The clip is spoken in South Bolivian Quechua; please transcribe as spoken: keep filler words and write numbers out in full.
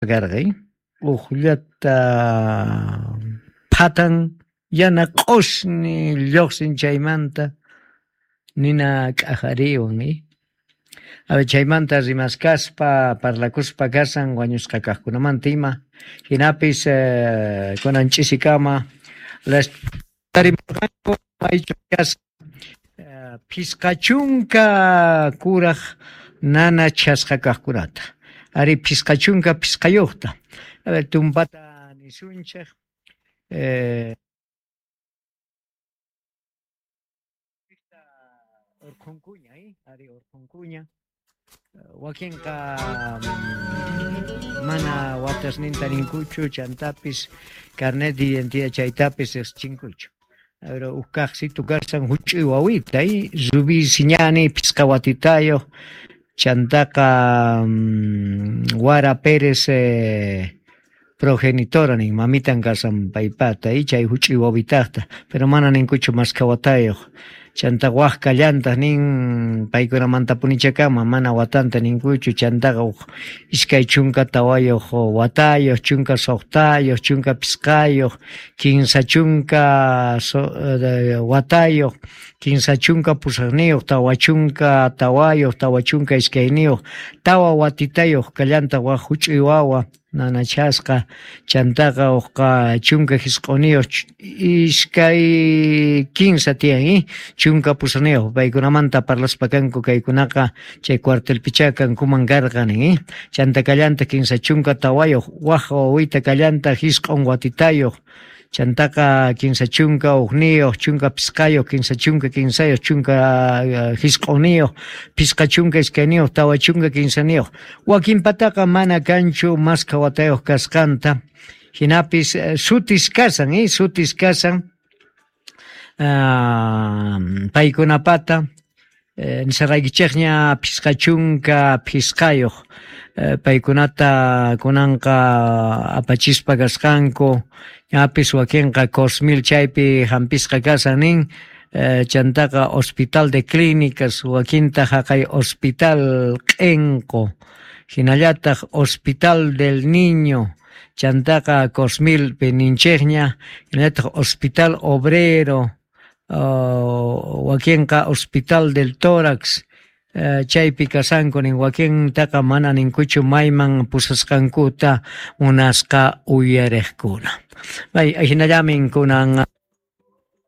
Karqa ujllata phatan yana q'osñi llojsin chaymanta nina k'ajariwan. A ver, chaymanta rimaskaspa parlakuspa kasan wañusqa kajkunamanta ima jinapis eh, kunan ch'isikama tarimurqanku maychu kasqa phisqa chunka kuraj nanachasqa kajkunata ari phisqa chunka phisqayuqta. A ver, tumpata nisunchej eh, urqhunkuña, eh? Ari urqhunkuña. Wakinqa mana watasninta ninkuchu chantapis carnet de identidad chaytapis riqsichinkuchu. Pero uj kaqsitu kasan huch'uy wawita, eh? Rubí Siñani phisqa watitayuq chantaqa Wara Pérez eh, progenitora nin mamitan kasan paypata y chay huch'uy wawitaqta, pero mana ninkuchu maskha watayuq. Chanta waj kallantaq nin paykunamantapunichakama mana watanta ninkuchu chantaqa uj iskay chunka tawayuq watayuq chunka suqtayuq chunka phisqayuq kinsa chunka so, watayuq kinsa chunka pusaqniyuq tawa chunka tawayuq tawa chunka iskayniyuq tawa watitayuq kallantaq waj huch'uy wawa nanachasqa chantaqa uqqa chunka hisq'uniyuq iskay kinsa tiyan eh? Chunka pusaqniyuq paykunamanta parlaspa kanku kaykunaqa chay cuartelpichá kankuman karqa nin eh? Chanta kallantaq kinsa chunka tawayuq waj wawita kallantaq hisq'un watitayuq chantaqa kinsa chunka ujniyuq chunka phisqayuq kinsa chunka kinsayuq chunka hisq'uniyuq phisqa chunka iskayniyuq tawa chunka kinsaniyuq wakinpataqa mana kanchu maskha watayuq kasqanta jinapis sutis kasan eh? Sutis kasan uh, paykunapata eh, nisaraykichikña phisqa chunka phisqayuq eh, paykunata kunanqa apachispa kasqanku ñapis wakinqa Cosmil chaypi hampisqa kasan nin eh, chantaqa Hospital de Clínicas wakinta haqay Hospital Q'enqo hinallataq Hospital del Niño chantaqa Cosmil ninchikña hinallataq Hospital Obrero uh, wakinqa Hospital del Tórax uh, chaypi kasanku nin wakintaqa mana ninkuchu mayman pusasqankuta munasqa uyariqkuna. Bay, hinallamin kunan.